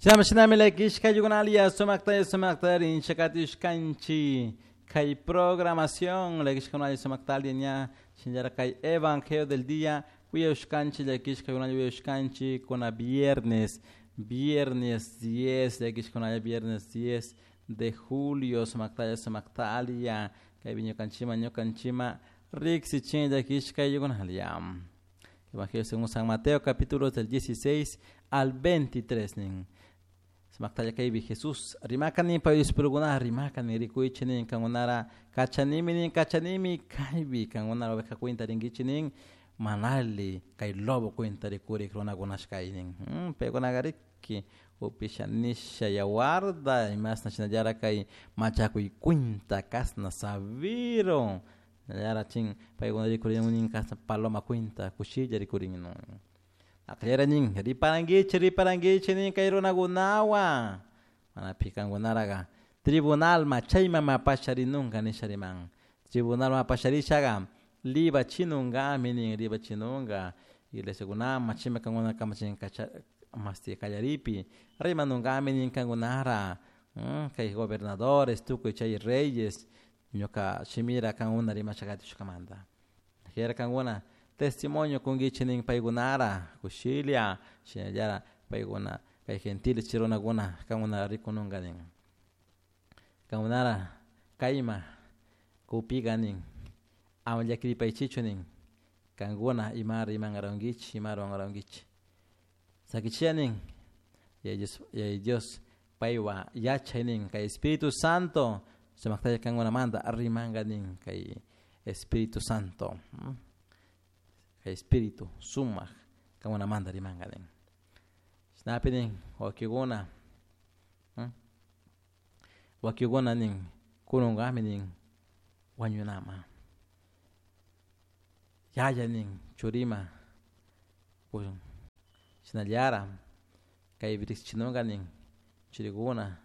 Shinami shinami llakishka ayllukunalla sumakta sumakta rinchakatishkanchik kay programación llakishkakunalla sumaktalla ña shinallara kay evangelio del día uyashkanchik llakishkakunalla uyashkanchik kuna viernes viernes 10 llakishkakunalla viernes 10 de julio sumaktalla sumaktalla kaypi ñukanchikman ñukanchikman riksichin llakishka ayllukunalla. Evangelio según San Mateo capítulos del 16 al 23 nin. Sumaktalla kaypi Jesús rimakani pay discipulokuna rimakani rikuychik nin kankunara kachanimi nin kachanimi kaypi kankunara oveja cuenta rinkichik nin manali kay lobo cuenta rikurik runakunashkay nin. Paykunaka riki upisha nisha yawarta imasna shinallara kay machakuy cuenta kasna sabiro shinallara chin paykuna rikurin nin kasna paloma cuenta kushilla rikurin Aqllera nin riparankichik riparankichik nin kay runakunawan mana pikankunaraqa tribunalma chayman mapasharinunka nisha riman tribunalma apasharishaqa libachinunkami nin libachinunka iglesiakunaman chayman kankuna kamachin kacha masti kallaripi rimanunkami nin kankunara kay gobernadores tukuy chay reyes ñuka shimira kankuna rimasha katishkamanta jera kankuna testimonio kunkichik nin paykunara kushilla shinallara paykuna kay gentiles chay runakuna kankuna rikununka nin kankunara kayma kupika nin ama llakiripaychichu nin kankuna ima rimankarankichik ima rurankarankichik sakichiya nin Yaya Dios, Yaya Dios paywan yachay nin kay Espíritu Santo sumaktalla kankunamanta rimanka nin kay Espíritu Santo kay Espíritu sumak kankunamanta rimanka nin chashnapi nin wawkikuna wawkikuna nin kununkami nin wañunama yaya nin churima shinallara kaypi riksichinunka nin churikuna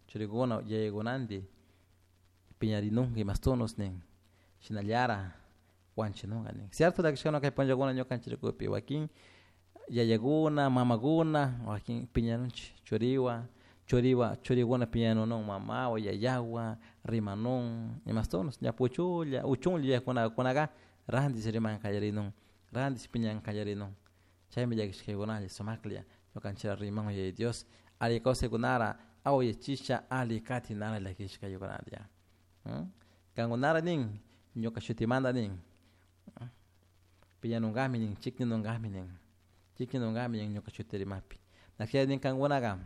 churikuna yayakunanti piñarinunka imastunos nin shinallara wanchinunka nin cierto llakishkuna kay punllakuna ñukanchik wakin yayakuna mamakuna wakin piñanunchik churiwan churiwan churikuna piñanunun mamawan yayawan rimanun imastunos ña puchulla uchunlla yuyakkunaka rantish riman kallarinun rantish piñan kallarinun chaymi llakishkaykunalla sumaklla ñukanchikra riman Yaya Dios alli kawsaykunara awayachisha alli katinara llakishkaykunalla kankunara nin ñuka shutimanta nin piñanunkami nin chikninunkami nin chikninunkami nin ñuka shuti rimakpi naklla nin kankunaka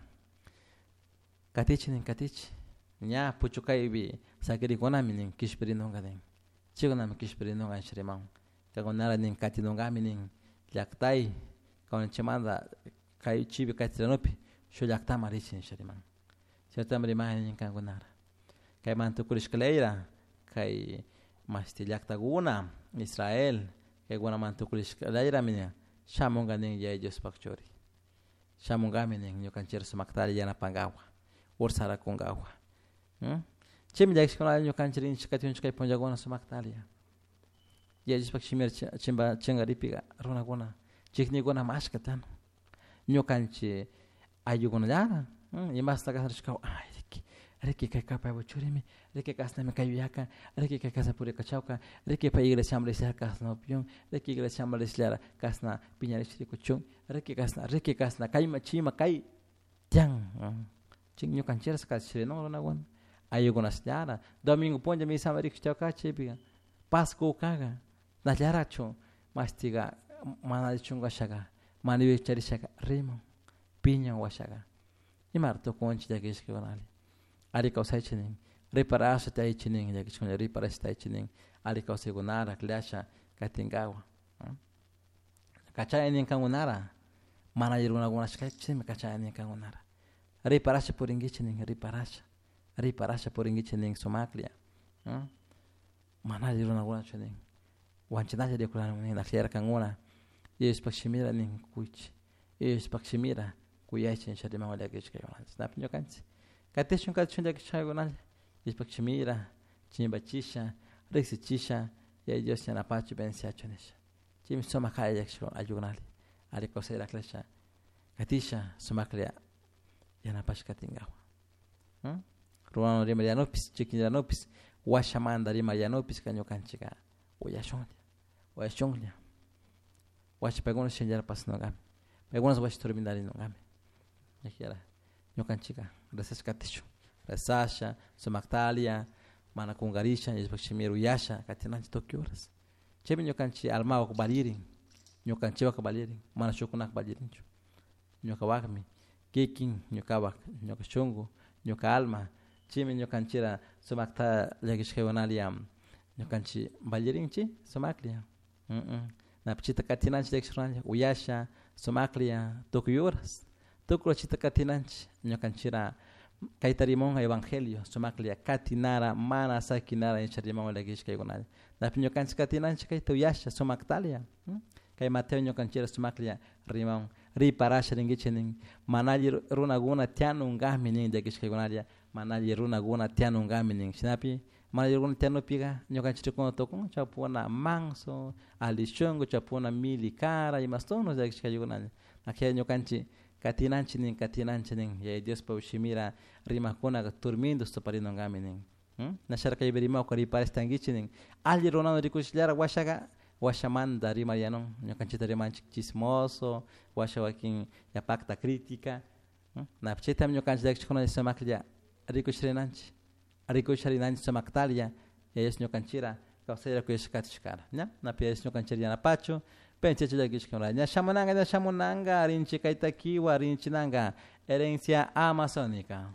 katichik nin katichik ña puchukaypi sakirikunami nin kishpirinunka nin chaykunami kishpirinunka nisha rimakun kankunara nin katinunkami nin llaktay kawsanchikmanta kay chipi katiranupi shuk llaktaman richik nisha riman chaytami rimani nin kankunara kayman tukurishka leyra kay mashti llaktakuna Israel kaykunaman tukurishka leyrami shamunka nin Yaya Diospak churi shamunkami nin ñukanchik sumaktalla yanapankapak ursarakunkapak chaymi llakishkunalla ñukanchik rinchik katikunchik kay punllakuna sumaktalla Yaya Diospak shimira chimpa chinkaripika runakuna chiknikuna mashka tiyan ñukanchik ayllukunallara imasta kasharishka ay riki riki kayka paypak churimi riki kashnami kay yuyaka riki kay kashna purikachawka riki pay iglesiaman rishala kashna upyun riki iglesiaman rishallara kashna piñarish rikuchun riki kashna riki kashna kayma chayma kay tiyan chay ñukanchikra kashrinun runakuna ayllukunashllara domingo punlla misaman rikushchawka chaypika Pasco kaga nallarachu mashtiga mana alli chunkashaka mana yuyay charishaka riman piñan washaka imara tukunchik llakishkakunalla alli kawsaychik nin riparasha taychik nin llakishkuna riparasha taychik nin alli kawsaykunara akllasha katinkawan kachani nin kankunara mana alli runakunashkaychikmi kachani nin kankunara riparasha purinkichik nin riparasha riparasha purinkichik nin sumaklla mana alli runakunachu nin wanchinalla rikurani nin akllarkankuna Diospak shimira nin kuychik Diospak shimira kuyaychik nisha riman llakishkaykunalla chashnapi ñukanchik katishun katishun llakishkaykunalla Diospak shimira chimpachisha riksichisha Yaya Dios yanapachu bendiciachun nisha chaymi sumak alli llakishkuna ayllukunalla alli kawsayta aklasha. Katisha sumaklla yanapash katinkawa. Ruwan rimayanupis, chikinyanupis, washamanda rimayanupis ñukanchika uyashunlla, uyashunlla. Washa paykuna shinllara pasanungami. Paykuna washa turmindarinungami. Ñakiyara ñukanchika rezasha katishun. Rezasha, sumaktalia, mana kungarisha, Diospaj shimira uyasha katinanchik tukuy horas. Chaymi ñukanchik almawak valirin, ñukanchikwak valirin, mana shukkunak valirinchu. Ñukawakmi kikin ñukawak, ñuka shunku, ñuka alma, chaymi ñukanchira sumakta llakishkaykunalia ñukanchik valirinchik sumaklla. Napichita katinanchik llakishkunalla uyasha sumaklla tukuy horas, tukuy chita katinanchik ñukanchira kayta rimun evangelio sumaklla katinara mana sakinara nisha rimun llakishkaykunalla. Napi ñukanchik katinanchik kayta uyasha sumaktalia. Kay Mateo ñukanchira sumaklla rimun riparasha rinkichik nin mana alli runakuna tiyanunkami nin llakishkaykunalla, mana alli runakuna tiyanunkami nin. Shinapi mana alli runakuna tiyanupika ñukanchik rikuna tukun chapuna manso, alli shunku, chapuna mili cara, imastuno llakishkaykunalla. Akilla ñukanchik katinanchik nin, katinanchik nin, Yaya Diospa shimira rimakkunaka turmintus tuparinunkami nin. Nasharka kaypi rimawka riparashtankichik nin, alli runata rikushillara washaka washamanta rimariyanun, ñukanchikta rimanchik chismoso, washa wakin yapakta crítica. Napi chaytami ñukanchik llakishkuna sumaklla rikusharinanchik, rikusharinanchik sumaktalia, Yaya Dios ñukanchira kawsayra kuyashka katishkara, ña? Napi Yaya Dios ñukanchira yanapachu, penchachu llakishkuna. Ña shamunanka, ña shamunanka, rinchik kayta kiwa, rinchinanka, herencia amazónica.